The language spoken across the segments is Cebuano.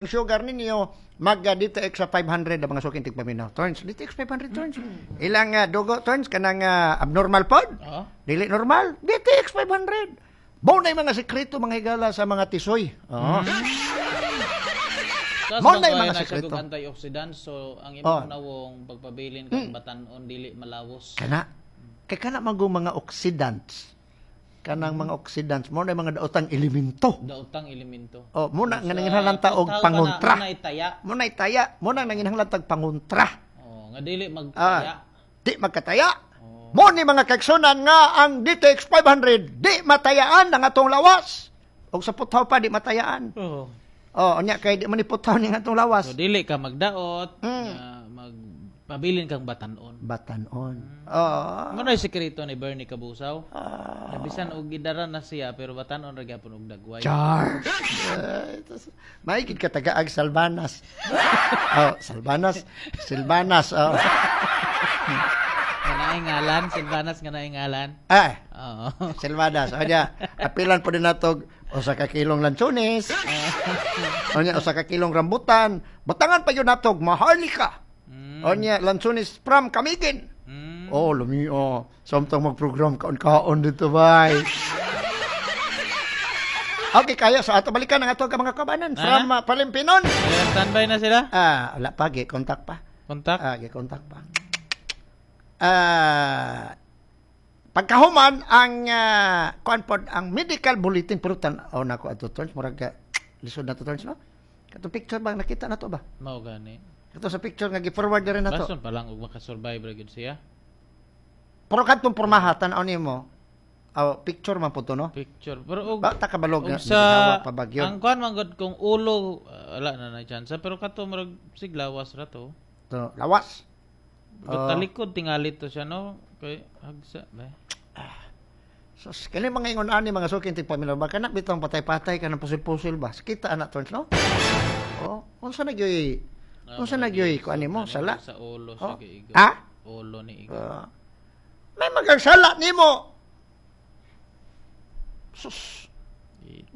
Sugar ninyo mag DTX sa 500 ang mga suking tigpaminaw. Turns, DTX 500 turns. Ilang dugo turns kanang abnormal pod? Oo. Dili normal, DTX 500. Mao na mga sekreto, mga higala, sa mga tisoy. Oo. Tapos Mao na yung mga na siya sekreto. og antioxidant, so ang imong nawong pagpabilin kang batan-on, dili malawos. Kana kay kana man mga oxidants. Kanang mga oxidants mao na yung mga daotang elemento. Daotang elemento. Oh, muna nga Sa nanginahanglan ta og puthaw ka na, pangontra. Muna itaya. Muna itaya, muna nanginahanglan tag pangontra. Oh, nga dili magtaya. Di magkataya. Mo ni mga kaigsunan nga ang DTX 500 di matayaan ang atong lawas. Og sa puthaw pa di matayaan. Oh. Oh, unya kay di man ni puthaw ni atong lawas. So dili ka magdaot, nga magpabilin kang batan-on. Batan-on. Oh. Mo na yung sekreto ni Bernie Kabusaw. Nabisan og gidara na siya pero batan-on ra gyapon og dagway. Char. Maigid ka tagaag Salvanas. Oh, Salvanas. Silvanas. Oh. Nga naay ngalan, Silvanas nga naay ngalan. Ah, Oo. Silvanas. O niya, apilan po din nato usa ka kilong lansones. O niya, usa ka kilong rambutan. Butangan pa yun natog maharlika. O niya, lansones from Camiguin. Oh, lumi oh. Samtang magprogram kaon-kaon dito, bay. Okay, kaya sa ato balikan ang ato ka mga kabanan from Palimpinon. Ayan, standby na sila. Ah, wala pa, gi-contact pa. Contact. Ah, gi-contact pa. Ah, pagkahuman ang kuan pod ang medical bulletin, pero tan-aw na ko ato turns, murag ka lisod na to turns, no? Katong picture bang nakita na to ba? Mao gani. Kato sa picture nga gi-forward na rin na to. Bason pa lang og makasurvive ra gyud siya. Pero kadtong pormaha tan-aw nimo. Oh, picture man po to, no? Picture. Pero og Ba ta kabalog og nga sa sa pa bagyo. ang kuan man gud kung ulo, wala na na chance pero kato murag siglawas ra to. To, lawas. But talikod tingali to siya, no, kay hagsa ba. So, kani mga ingon ani mga suking tigpaminaw ba kana bitong patay-patay ka ng pusil-pusil ba? Kita ana turns, no? Oh, unsa na gyud? Unsa na gyud kuan nimo sala? Sa ulo Oh. siya giigo. Ah? Ulo ni igo. Ah. May magagsala nimo. Sus.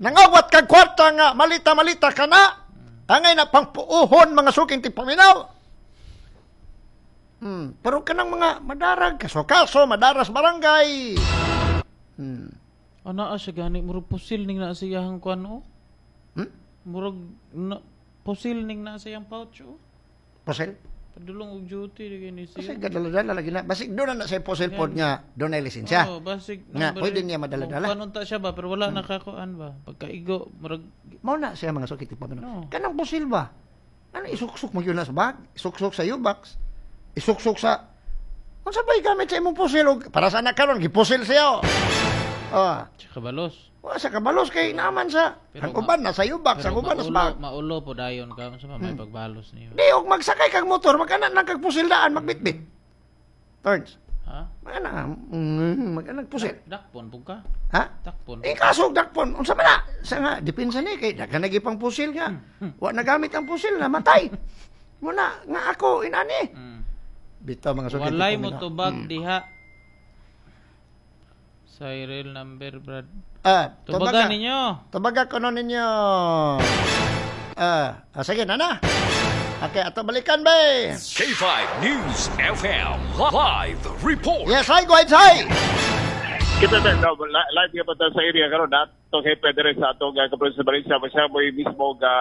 Nangawat kag kwarta nga malita-malita ka na. Angay na pangpuuhon, mga suking tigpaminaw. Pero kanang mga madarag kaso-kaso, madaras barangay. Ana siya gani murag pusil ning naa sa iyang kuan oh. Murag na, pusil ning naa sa iyang pouch oh. Pusil? Padulong og duty di kini Kasi siya. gadala-dala lagi na. Basig doon na sa pusil pod nga doon na lisensya. Oh, basig Nga, number pwede niya madala-dala. Kuan unta siya ba pero wala nakakuan ba. Pagkaigo murag Mao na siya, mga suking tigpaminaw. No. Kanang pusil ba? Ano isuksok mo yun na sa bag? Isuksok sa U-box? Isuksok sa... Unsa ba gamit sa imong pusil? Og para sa anak karon gipusil siya. Oh. Tsaka balos. Wa sa kabalos kay naaman sa Pero ang uban na sa U-box, ang uban na sa maulo, bag. Maulo po dayon ka unsa pa may pagbalos niyo. Di og magsakay kag motor, magkana nang kag pusil daan magbitbit. Turns. Ha? Magana, magana pusil. Dakpon pug ka. Ha? Dakpon. Eh kaso dakpon, unsa man na? Sa nga depensa ni kay daghan na pang pusil nga. Wa nagamit ang pusil, namatay. Muna nga ako inani. Bitaw, mga suki. Walay mo tubag diha. Serial number, Brad. Ah, Tubagan tubaga. ninyo. Tubaga kuno ninyo. Ah, sige na na. Okay, ato balikan ba? K5 News FM Live Report. Yes, hi, go ahead, hi. Kita na no, live nga pa ta sa area karon na atong hepe dire sa atong kaprovince sa Valencia siya mo'y mismo ga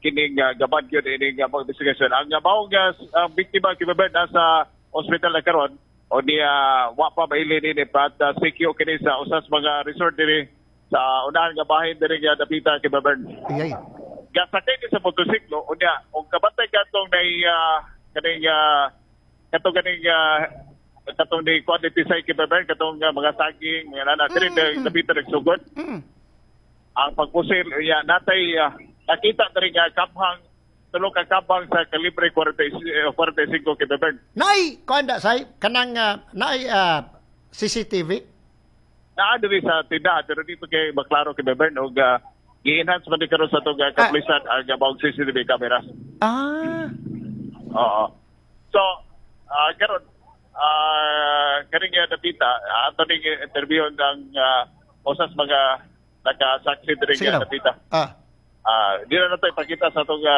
kining gabad gyud ining mga investigasyon. Ang maong ang biktima kibabed nasa ospital na karon o niya wa pa mailin ini but CQ kini sa usas mga resort diri sa unahan nga bahin diri nga dapita kibabed. Ay, ay. Gasakay ni sa motorsiklo unya og kabantay katong nay kaning katong kaning katong ni quantity sa kibabed katong mga saging mga nana diri dapita nagsugod ang pagpusil unya natay nakita diri nga kamhang tulo ka kabang sa kalibre 40, 45 kibabed. Nay, kuan da say kanang naay CCTV. Naa diri sa tindahan pero dito kay maklaro kibabed og gi-enhance man di karon sa atong kapulisan ang maong CCTV cameras. Oo. So, karon kaning dapita, ato ning interview ng usas mga nakasaksi diri Sige nga daw. dapita. Ah. Di na nato ipakita sa atong